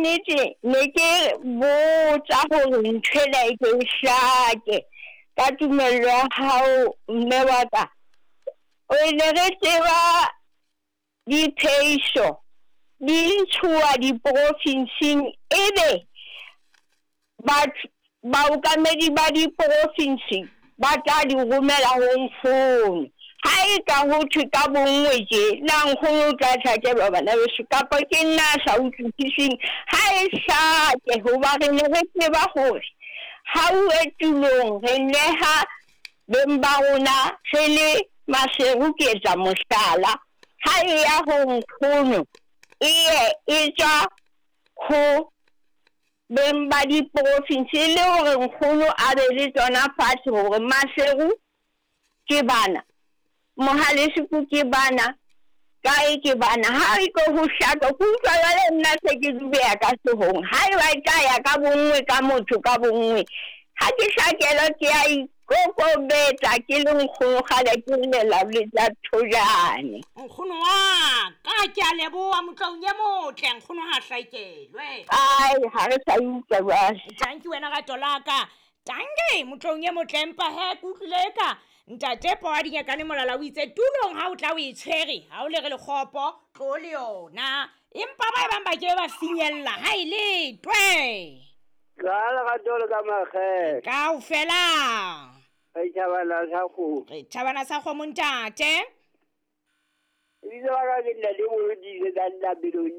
nnete ne ke botsa hore nthwena e ke e hlake ka tumello ya hao mme wa ka. O ne re tseba diphehiso di ntshuwa diprofinsing ebe batho baokamedi ba diprofinsi ba tla di romela ho nkgono. Ha e ka ho thwe ka bonngwe tje, na nkgono o tla hlakelwa bana beso kapa ke nna a sa utlwisiseng? Ha e hlake hoba re ne re tseba hore ha uwe tulong re neha beng ba rona re le Maseru ke etsa mohlala, ha e ya ho nkgono e ye e tswa ho beng ba diprofinse e le hore nkgono a be le tsona fatshe hore Maseru ke bana, Mohaleseku ke bana, kae ke bana. Ha e ko ho hlaka ke utlwa jwale nna se ke dubeha ka hloohong. Ha eba e tla ya ka bonngwe ka motho ka bonngwe, ha ke hlakelwa ke a ikokobetsa ke le nkgono kgale ke llela letsa thojane. Nkgono wa ka ke a leboha motloung e motle nkgono ha hlakelwe. Ai ha re sa utlwa jwale. Tanki wena rato la ka. Tanki motloung e motle empa he ke utlwile eka ntate po wa dinyakane molala o itse tulong ha o tla o e tshwere ha o le re lekgopo tlo le yona empa ba e bang ba ke ba finyella ha e letwe. Ka lerato le ka makgethe. Kaofela. Re tjhabana sa kgomo. Re tjhabana sa kgomo ntate. Lebitso la ka ke Ntate Molodise ka Ntapelong.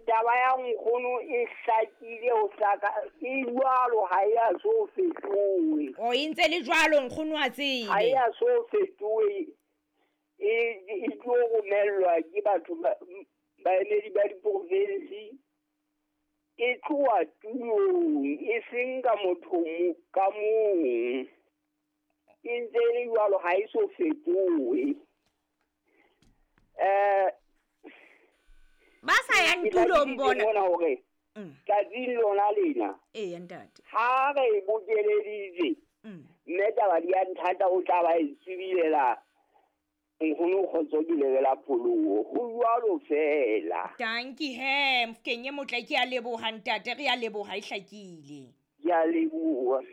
Taba ya nkgono e hlakile ho hlaka e jwalo ha e a so fetohe. O e ntse le jwalo nkgono a tsebe. Ha e a so fetohe. E tlo romellwa ke batho baemedi ba diprovinsi. E tloha tulong e seng ka motho ka mong. E ntse e le jwalo ha e so fetohe. Ba sa yang tulong bona. Bona hore tsatsing lona lena. Ee ntate. Ha re bokeleditse. Mme taba di a nthata o tla ba e tsibilela nkgono kgotso ke lebela pholoho. Ho jwalo fela. Tanki he mfkeng e motle ke a leboha ntate re a leboha e hlakile. Ke a leboha.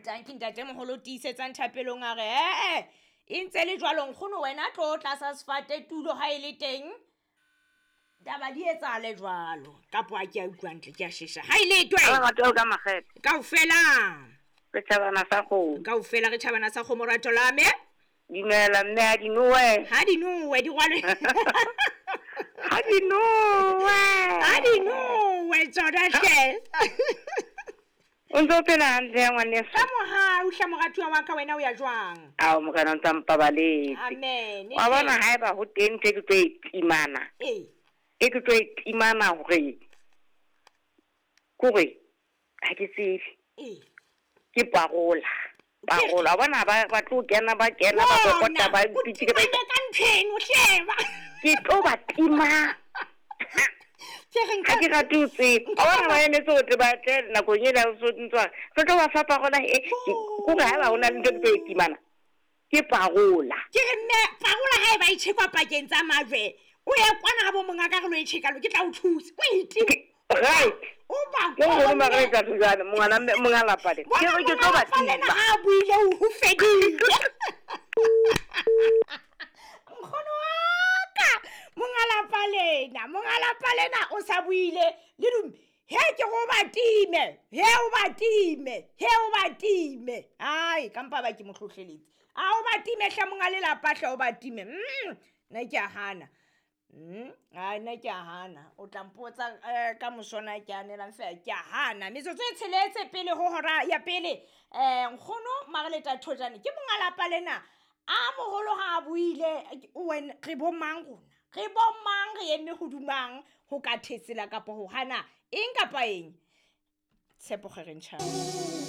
Tanki ntate moholo tiisetsang thapelong a re e ntse le jwalo nkgono wena tlo tlasa sefate tulo ha e le teng taba di etsahale jwalo kapo a ke a utlwa ntle ke a shesha ha e letwe lerato ka makgethe kaofela re tjhabana sa kgomo kaofela re tjhabana sa kgomo rato la me dumela mme ha di nowe ha di nowe di rwalwe ha di nowe ha di nowe tsona hle o ntse o phela hantle ya ngwaneso ka mohau hle moratuwa wa ka wena o ya jwang? Ao morena o ntsa mpabaletse. Amen. Wa bona haeba ho teng ntho e ke tlo e timana. Ee. E ke tlo e timana hore kore ha ke tsebe. Ee. Ke parola. Parola. Wa bona ba tlo kena ba kena ba kokota ba pitike ba ka ntheno hleba. Ke tlo ba tima. Ha ke rate ho tseba. Wa bona ba emetse hore ba tle nakong ena o so ntswa. Re tlo ba fa parola e kore haeba ho na le ntho e ke tlo e timana. Ke parola. Ke re mme parola ha e ba e tjhekwa pakeng tsa majwe. O ye kwana ha bo monga ka re lo e tjheka lo ke tla o thusa. O e time. Right. O ba Ke hore mara e tla thusana mongana monga lapa le. Ke re ke tlo ba tima. Ha buile o fedile. Nkgono wa ka monga lapa lena, monga lapa lena o sa buile le dume. He ke go ba time, he o ba time, he o ba time. Ai ka mpa ba ke mo hlohleletse. A o ba time hle monga lelapa hle o ba time. Nna ke a hana. Ai nna ke a hana. O tla mpotsa ka mosona ke anelang fela ke a hana. Metsotso e tsheletse pele ho hora ya pele. Nkgono Mareleta Thojane ke monga lapa lena. A moholo ha a buile wena re bo mang rona? Re bo mang re eme hodumang ho ka thetsela kapa ho hana eng kapa eng? Tshepo Kgerentjhane.